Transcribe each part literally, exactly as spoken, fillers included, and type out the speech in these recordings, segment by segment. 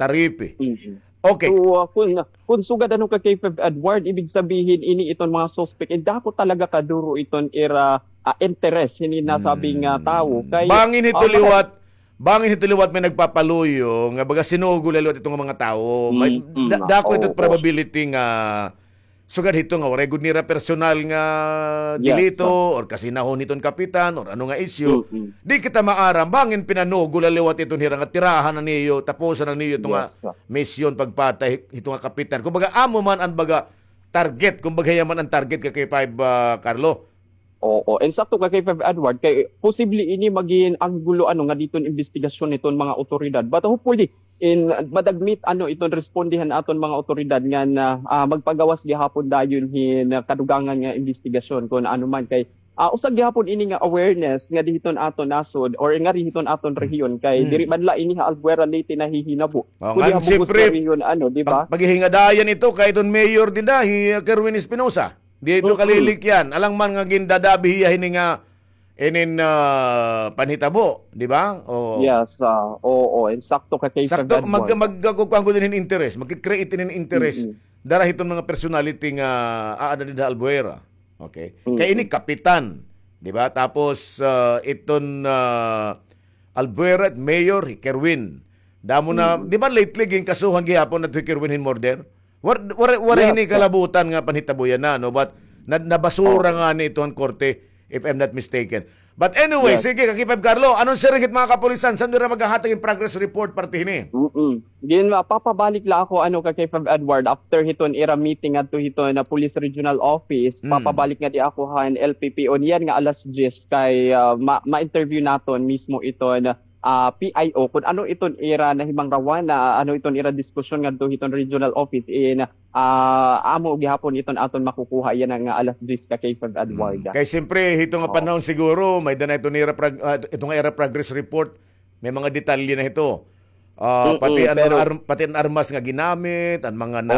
Taripi. Okay. So, ah, kun, kun sugad ano ka kay Feb Edward, ibig sabihin ini iton mga suspect, eh, dako talaga kaduro iton ira, ah, interes hini nasabing, ah, tawo. Kay, bangin hito liwat, bangin hito liwat may nagpapaluyo nga baga sinugo la liwat iton nga mga tawo. May, da-, dako ito probability nga sugad hito nga waray gud nira personal nga delito or kasinahon hiton kapitan or ano nga isyu. Di kita maaram, bangin pinanugo la liwat iton hira nga tirahan na niyo, tapusan na niyo ito nga misyon pagpatay hito nga kapitan. Kumbaga, amo man an baga target, kumbaga, hiya man an target ka kay Five, ah, Carlo. Oo, insakto ka kay Five Edward, kay posible ini magin anggulo ano nga diton imbestigasyon niton mga otoridad. But hopefully, in madagmit ano iton responde han aton mga otoridad nga na, ah, magpagawas gihapon dayon hin kadugangan nga imbestigasyon kun ano man kay, ah, usa gihapon ini nga awareness nga dihiton aton nasod or nga dihiton aton rehiyon kay diri man la ini ha Albuera Leyte nahihinabo. Oh, kundi ha bug-os nga rehiyon, ano, di ba? Pag-, paghihingadayan ito kay iton mayor dida, hi, uh, Kerwin Espinosa. Di ito kalilikyan. Alang man nga gindadabi hiya hini nga inin, ah, panhitabo, di ba? Oo. Yes, ah, oo, insakto ka kay Feb Edward. Sakto, mag-, mag-, magkukuan ko din hin interes, magki-create din hin interes. Dara hiton mga personality nga aada dida Albuera. Okay? Kay ini kapitan, di ba? Tapos, ah, iton, ah, Albuera, mayor, hi Kerwin. Damo na, di ba lately, ginkasuhan gihapon na hi Kerwin hin murder? War-, war-, waray hini kalabutan nga panhitabo yana, no? But na-, nabasura nga ni ito han korte, if I'm not mistaken. But anyway, sige, ka K five Carlo, ano an siring hit mga kapulisan? San-o ira maghahatag hin progress report parte hini? Mm-mm. Gin, mapapabalik la ako, ano, ka K five Edward, after hiton ira meeting adto hiton Police Regional Office, papabalik ngadi ako han L P P O niyan nga alas diyes kay, ah, ma-, ma-interview naton mismo iton ah, P I O, kun ano iton ira nahimangrawan, na ano iton ira diskusyon ngadto hiton regional office in, ah, amo gihapon iton aton makukuha yana nga alas diyes ka K five Edward. Kay siyempre, hito nga panahon siguro, may-ada na iton ira prog-, ah, ito nga ira progress report, may mga detalye na hito. Ah, pati an mga arm-, pati an armas nga ginamit, an mga na,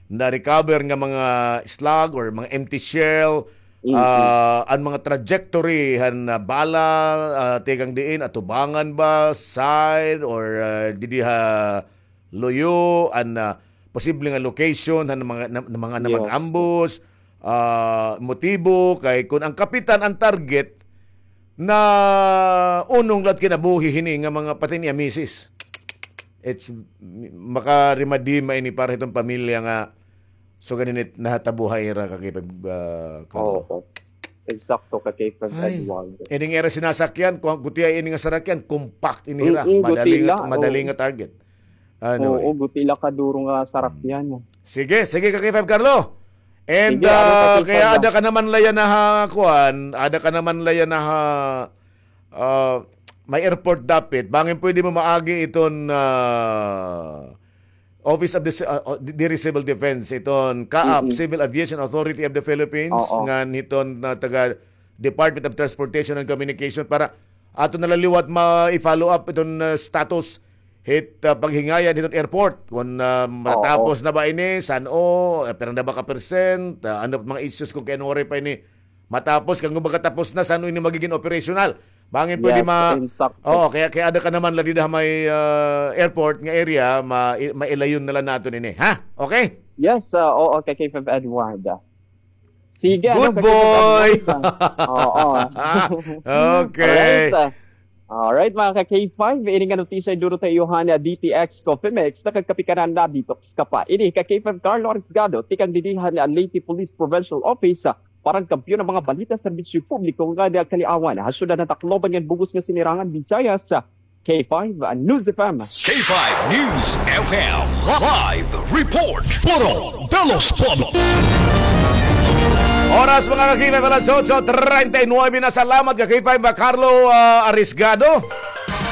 na-recover nga mga slug or mga empty shell, ah, an mga trajectory han, ah, bala, ah, tikang diin, atubangan ba, side, or, ah, didi ha luyo, an, ah, posible nga location han mga, na, na mga na mag-ambush, ah, motibo, kay kun an kapitan an target, naunong la it kinabuhi hini nga mga pati niya misis. It's, makaremadima ini para hiton pamilya nga sugad hini nahitabo ha ira ka K five, ah, Carlo. Oo. Eksakto ka K five Edward. Ini nga ira sinasakyan, kun gutiay ini nga sarakyan, compact ini hira. Madali nga, madali nga target. Anyway. Oo, guti la kaduro nga sarakyan. Sige, sige ka K five Carlo. And, ah, kay aada ka naman la yana ha kuan, aada ka naman la yana ha, ah, may airport dapit. Bangin pwede mo maagi iton, ah, Office of the, ah, oh, diri Civil Defense, iton CAAF, Civil Aviation Authority of the Philippines, ngan hiton, ah, taga Department of Transportation and Communication para aton na la liwat ma-, i-follow up iton, ah, status hit, ah, paghingayan hiton airport. Kun, ah, matatapos na ba ini, san-o, ah, pira na ba ka percent, ah, ano mga issues kun kay ano waray pa ini matapos, kay kun baga tapos na, san-o ini magigin operational. Bangin pwede ma-, oo, kay, kay aada ka naman la dida ha may, ah, airport nga area, ma-, mailayon na la naton ini. Ha? Okay? Yes, ah, oo, kay K five Edward. Sige, ano, good boy. Oo. Okay. Alright, ah. Alright, mga ka K five, ini nga notisya iduro ta iyo han D T X Coffee Mix, nakagkape ka na, nadetox ka pa. Ini ka K five Carlo Arisgado, tikang didi han Leyte Police Provincial Office, ah, para han kampiyon nga mga balita, serbisyo publiko nga nagkaliawan ha syudad han Tacloban ngan bug-os nga sinirangan Visayas, ah, K five News F M. K five News F M live report. Puro Belos Pueblo. Oras, mga ka-K five, alas otso treinta y nueve na. Salamat ka K five, Carlo, ah, Arisgado.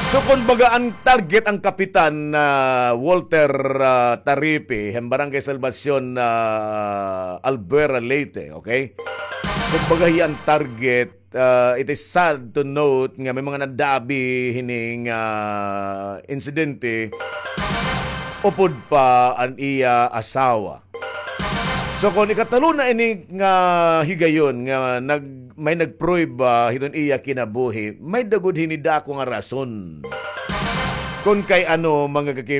So, kun baga an target an Kapitan, ah, Walter, ah, Taripi, han Barangay Salvacion, ah, Albuera, Leyte, okay? Kun baga hiya an target, ah, it is sad to note nga may mga nadabi hini nga insidente upod pa an iya asawa. So, kon ikatulo na ini nga higayon nga nag-, may nagprueba hiton iya kinabuhi, may-ada gud hini dako nga rason. Kon kay ano, mga ka-K